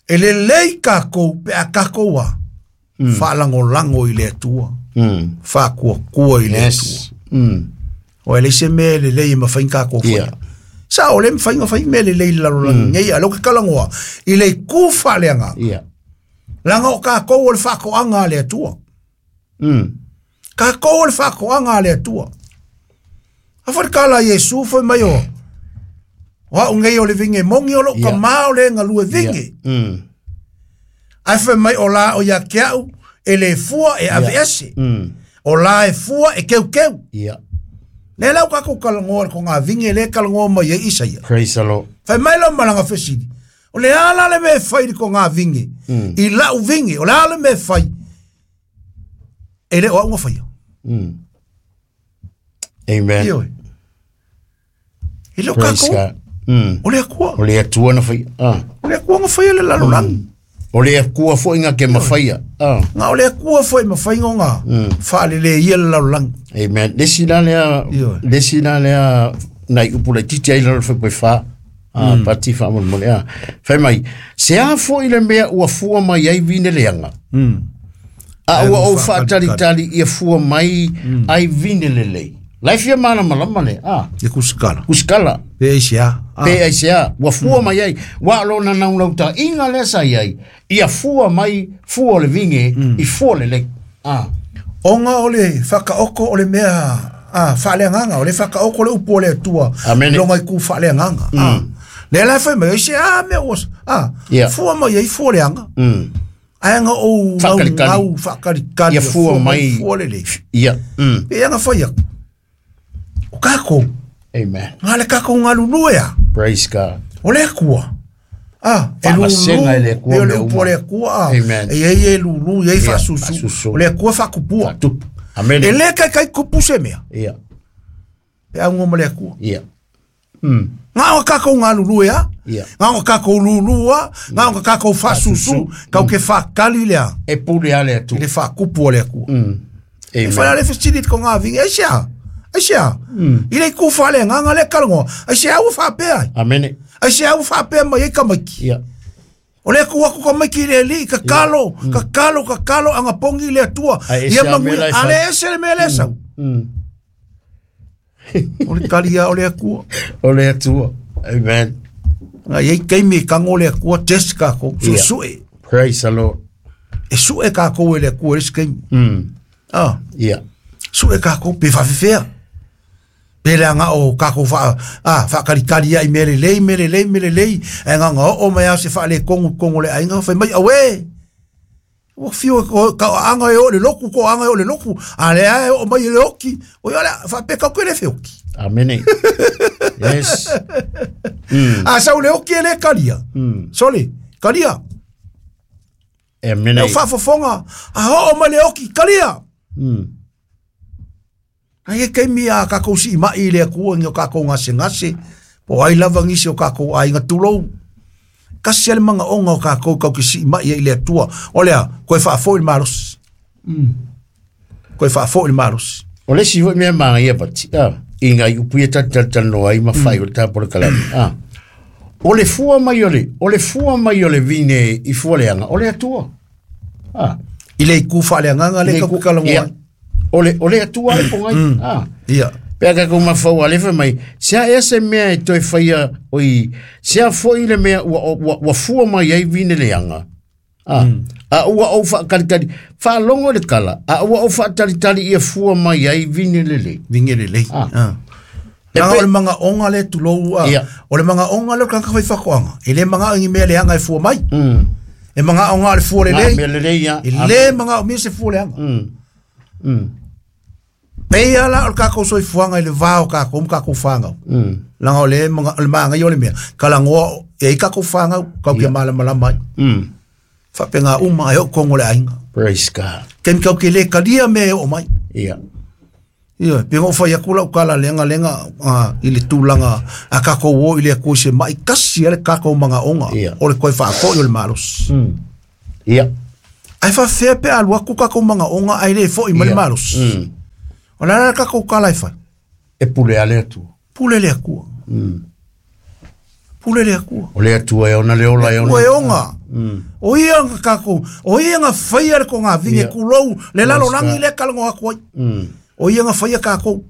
E lelei kākou pe a kākou a. Whaalangolango i le Atua. Whaakuakua i le Atua. Yes. O e leise me lelei e mawhain kākou whaia. Ia. Sa o le mawhainga whai me lelei lalolagi nei a lo ke kalangoa. I le ku whaaleanga. Ia. Langa o kākou o le whaakoanga a le Atua. Kākou o le whaakoanga a le Atua. A whare kala Yesu whai mai o. O au ngei o le vinge mongi o lo ka Ia. mao le ngalue vinge. Ai whai mai o la o ia kiau e le fua e ave ese. O la e fua e keu keu. Ia. Le lau kākou kalangoa ko ngā vinge le kalangoa mai e isa ia. Praise the Lord. Whai mai lau malanga whesiri. O le ala le me whai ko ngā vinge. I lau vinge. O le ala me whai. E le o au ngā whaia. Amen. Ioe. I leo Praise kākou. God. O le akua. O le Atua na whai. Ah. O le akua ngā whaia le lalolangi. O le Atua foi ngā ke mawhaia. Ah. Ngā o le akua whai mawhai ngā ngā. Whaalele ia le lalolangi. Amen. Lesi la lea, Ioe. lesi la lea, nai upu le titi ai lalo whai poi wha. Ah, pati wha mo le a. Whai mai, se a foi le mea ua fua mai ai vine leanga. A ua o whaatalitali ia fua mai ai vine lelei. Lai fia mana malama le, ah, E kusikala. kusikala. Pe eisia. Ah. Pe ai se a, ua fua mai ai, wa lo na nau lau ta inga le sa iai, ia fua mai, fua o le vinge, i fua lelei. Ah, Onga o le whakaoko o le mea ah, whaaleanganga, o le whakaoko le upu o le Atua. Amen. Longa i ku whaaleanganga. Ah. Le la whai mai, se a mea ua, ah, Ia. fua mai ai fua leanga. Ai anga o ngau Whakalikali. ngau whakalikali. Ia fua mai. Fua lelei. Ia. Pe anga whai aku. O kākou, Amen. ngā le kākou ngā lulue a. Praise God. O le akua. Ah, e lulu, Whaamasega e le Atua e o le mea upu uma. o le akua, ah. Amen. E ei e lulu, e ei Ia, whaasusu. whaasusu. O le akua whakupua. Tupu. Amen. E le kai kai kupu se mea. Ia. Pe au ngoma le akua. Ia. Ngā o kākou ngā lulu e a. Ia. Ngā o kākou lulu a. Ngā o kākou whaasusu. Kau ke whakali lea. E pule ale atu. I le whakupu o le akua. E Amen. whai ale whesiri ko ngā vingi. Ai sea. Ai sea. I le ku whale ngā ngā le kalangoa. Ai sea ua whapea ai. Amen. Ai sea ua whapea mai ai kamaiki. Ia. O le aku aku ka maiki le li, ka kalo, ka kalo, ka kalo, anga pongi le atua. Ai, ese Ia a mangui, mea la e whai. ale ese le mea le sau. O le kalia o le akua. O le Atua. Amen. Ngā iei keimi kango le akua, test kako, su Ia. sue. Praise the Lord. E sue kako e le akua, le keimi. Ah, Ia. sue kako, pe whawhewhea. Pe le anga o kako wha, ah, whakarikari ai mere lei, mere lei, mere lei. E ngā ngā o mai au se whaale kongu kongu le ainga, whai mai, awe! Ua whio ko ka anga e o le loku, ko anga e o le loku. A le ae o mai e le oki. O ia le, whape kau ke le whioki. Amen. Yes. A sau le oki e le karia. Sole, karia. Amen. E o whafofonga. A ho o mai le oki, karia. Ai e keimi a kākou si mai i le akua ngi o kākou ngase ngase. Po ai lava ngisi o kākou ai ngā tulou. Kasi ale manga onga o kākou kau ki si mai i le atua. O lea, koe whaafo i le maros. Koe whaafo i le maros. O le si foi mea manga ia pati. Ah. I ngā upu ia tali tali noa i mawhai o le tāpo le kalani. Ah. O le fua mai o le, o le fua mai o le vine i fua leanga, o le Atua. Ah. I le iku whaale nganga le kaku kalangoa. Ia. O le Atua le pongai. Ah. Ia. Pea ka kuma fau alefa mai, sea ea se mea e toe whaia oi, sea foi le mea ua fua mai ai vine leanga. Ah. A ua au whaakaritari, whaalongo le kala, a ua au whaataritari ia fua mai ai vine lele. Vinge le lei. Ah. Ah. E Langa pe- o le manga onga le tulou a. Ia. O le manga onga le kanka whai whakoanga. E le manga ngi mea le anga e fua mai. E manga onga le fua le Ngā lei. mea lelei ia. E le manga o mea se fua le anga. Peia la o le kākou soifuaga i le vā o kākou ma kākou fāgau. Laga o le manga o le magaia o le mea, kalangoa E ai kākou whāngau, kau kia malamalama ai. Whapenga uma e o kongo le ainga. Praise God. Kemi kau ke le kalia me e o mai. Ia. Ia, pe ngō whai aku lau kala lenga lenga i le tūlanga a kākou o i le akui se mai kasi ale kākou manga onga. Ia. O le koe whaako i o le malos. Ia. Ai whawhea pe alu aku kākou manga onga ai le fo i ma le Ia. malos. O la la kākou kala e whai. E pule ale atu. Pule le akua. Pule le akua. O le atua e ona le ola e ona. Ua e onga. O ia nga kākou, o ia nga whaia le ko ngā vinge Ia. kulou, le lalo Praise rangi God. le kalango aku ai. O ia nga whaia kākou.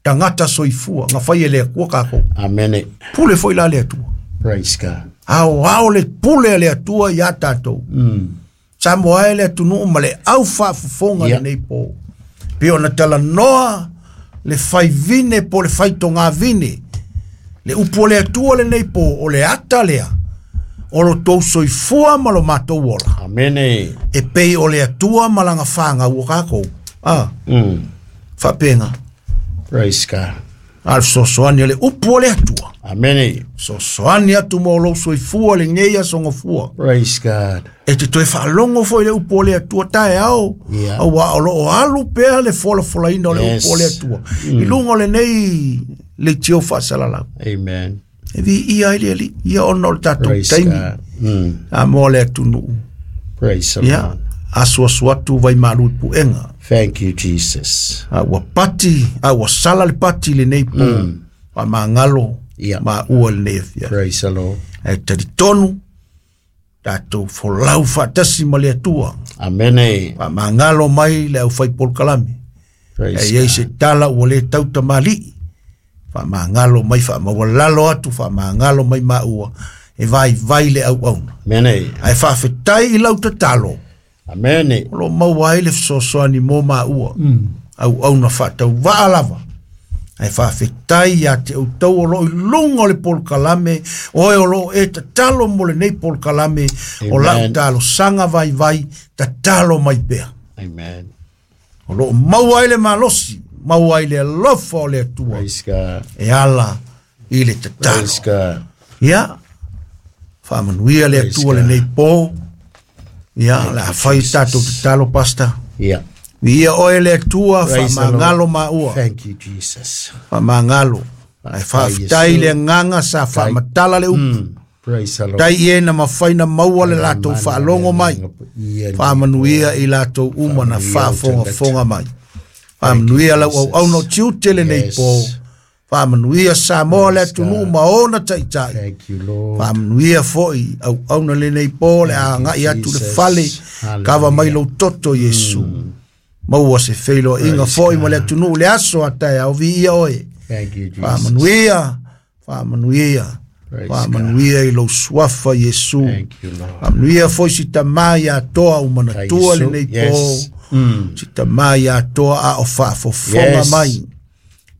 Tangata soifua, nga whaia le akua kākou. Amene. Pule foi la le atua. Praise God. Ao ao le pule le atua ia tātou. Sa moa e le atunuu ma le au whaafofonga Ia. le nei pō. Pe ona tala noa le whai vine po le whai tonga vine. Le upu o le atua le nei pō o le ata lea. O lo tau soifua ma lo mātou ola. Amene. E pei o le atua ma langa whanga ua kākou. Ah, whapenga. Praise God. Al sosoani le upu o le atua. Amene. Sosoani atu mo lo soifua le ngeia songofua. Praise God. E te toe whaalongo fo i le upu o le atua tae au. Ia. Au a o lo o alu pea le fola fola ina o le Yes. upu o le atua. I lunga o le nei le tio whaasalalau. Amen. E vi ia i le ali. Ia ona o le tātou Praise taimi. God. A mo le atunuu. Praise the Ia. Lord. Asu asu atu vai malu i puenga. Thank you, Jesus. A ua pati, a ua sala le pati le nei pō. A mangalo. Ia. Ma ua le nei afia. Praise the Lord. E tari tonu. Tātou folau whaatasi ma le atua. Amene. Wa mangalo mai le au whai polokalame. Praise E iei se tala ua le tauta mali. Wha mangalo mai wha mawalalo atu wha mangalo mai maua. E vai vai le au auna. Amene. Ai whawhetai i lau tatalo. Amene. O lo maua ai le fesoasoani mo maua. Au auna whaatau waa lava. Ai whawhetai ia te utau o lo i lunga o le polokalame. Oe o lo e tatalo mo le nei polokalame. O lau Amen. talo sanga vai vai tatalo mai pea. Amen. O lo maua ai le malosi, maua ai le alofa o le atua. Praise God. E ala i le tatalo. Praise God. Ia, whaamanuia le Praise atua le God. nei pō. Ia, le a whai tātou tatalo, pasta. Yeah. Ia oe le atua, Praise the Lord. whaamangalo maua. Thank you, Jesus. Whaamangalo. Ai whaaftai le nganga sa whaamatala le upu. Praise the Lord. Tai e na mawhaina maua le lātou whaalongo mai. Whaamanuia i lātou uma na whaafongafonga mai. Whaamanuia lau au au no tiute le nei Yes. pō. Whaamanuia Samoa le Praise atunuu God. ma ona taitai. Thank you, Lord. Whaamanuia foi au au na le nei pō le a ngai atu le Jesus. fale. Hallelujah. Kawa mai lou toto Yesu. Maua se wheilo inga Praise foi ma le God. atunuu le aso atai au vi ia oe. Thank you, Jesus. Whaamanuia, whaamanuia, Praise whaamanuia i lou suafa Yesu. Thank you, Lord. Whaamanuia foi si tamā ia toa o manatua Yesu, le nei pō. yes. Si tamā ia toa a o whaafofonga Yes. mai.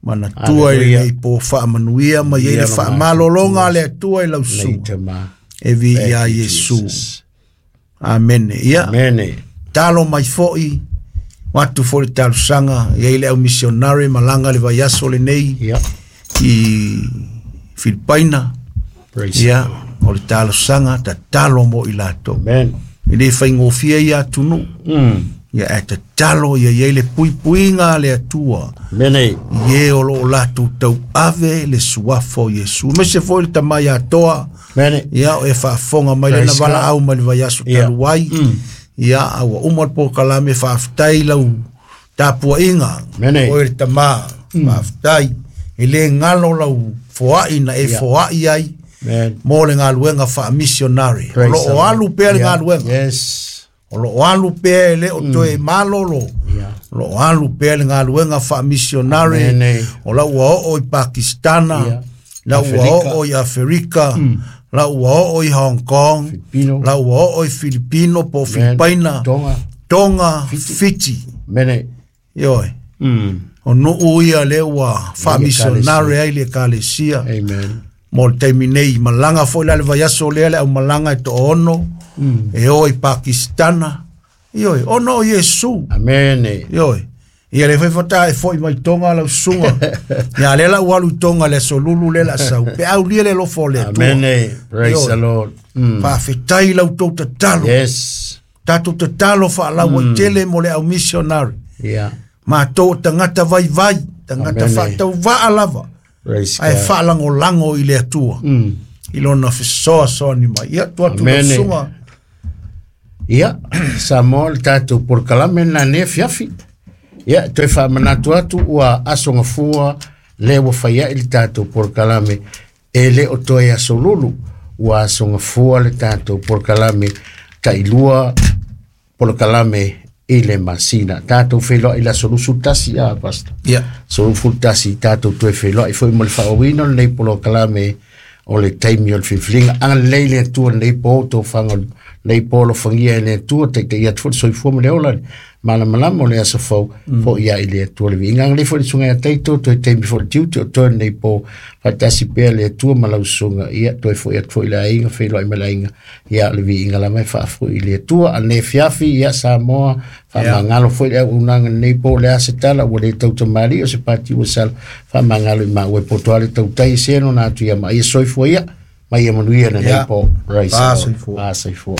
Manatua i le Hallelujah. nei pō whaamanuia mai ei Ia le lo whaamalolonga le atua i lau Nei sua. tama. E vi Thank ia you, Yesu. Jesus. Amene. Ia, Amene. talo mai foi, watu foi le talusanga, ia i le au missionary malanga le vaiaso le nei Yeah. i Filipaina. Praise Ia, the Lord. o le talosaga tatalo mo i latou. Amen. E le faigofie ia atunuu. Ia e tatalo ia iai le puipuiga a le Atua. Amene. I e o loo latou tauave le suafa o Iesu. Mese foi le tamai atoa. Amene. Ia o e faafofoga mai lena Praise God. valaau mai le vaiaso Ia. talu ai. Ia a ua uma le polokalame faafetai lau tapuaiga. Amene. Oe le tamā. Faafetai. E lē galo lau foai na e Ia. foai ai Amen. mo le galuega faamissionary. O Praise loo the Lord. alu pea le Yeah. galuega. Yes. O loo alu pea e lē o toe malolo. Yeah. O loo alu pea le galuega faamissionary. Amene. O lau ua oo i Pakistana. Ia. Lau ua Aferika. oo i Aferika. Lau ua oo i Hong Kong. Filipino. Lau ua oo i Filipino po Amen. Filipaina. Tonga. Tonga, Fiti. Amene. Ioe. O nuu ia le ua faamisionare ai le ekalesia Amen. mo le taimi nei malaga foi la le vaiaso lea le aumalaga e toono e o i Pakistana ioe ona o Iesu Amene. ioe Ia le fai fata e foi mai tonga lau susuga. Ia le la ua alu i Tonga le aso lulu le la sau. Pe au lia le lofo o le Atua. Amene. Praise the Lord. Faafetai lau tou tatalo. Yes. Tatou tatalo faalauaitele mo le au missionary. Yeah. Matou o tagata vaivai, tagata Amene. faatauvaa lava. Praise Ae God. faalagolago i le Atua. I lona fesoasoani mai. Ia tuu atu lau Amene. susuga. Ia, Samoa le tatou polokalame na nei fiafi. Ia, toe faamanatu atu ua aso gafua le ua fai ai le tatou polokalame e le o toe aso lulu. Ua aso gafua le tatou polokalame tailua polokalame i le masina. Tatou feiloai i le aso 21 a, Pastor. Ia. So 21 tatou toe feiloai foi mo le faaauauina o lenei polokalame o le taimi o le filifiliga. Agalelei le Atua i lenei po, tofaga o lenei po alofagia e le Atua, taitaia atu foi le soifua ma le ola, le malamalama o le aso fou, foi ia i le Atua le viiga. Agalelei foi le susuga ia Taito, toe taimi foi le tiute o toe lenei po, faatasi pea le Atua ma lau susuga, ia toe foi atu foi i le aiga, feiloai ma le aiga, ia le viiga lava e faafoi i le Atua. A lenei afiafi, ia Samoa, faamagalo foi le auaunaga lenei po, le a se tala, ua le tautamali o se pati ua sala, faamagalo i maua e poto ale tautai e seno na atu ia ma ia soifua ia, ma ia manuia lenei po. Praise the Lord. Soifua. Soifua.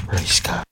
Praise God.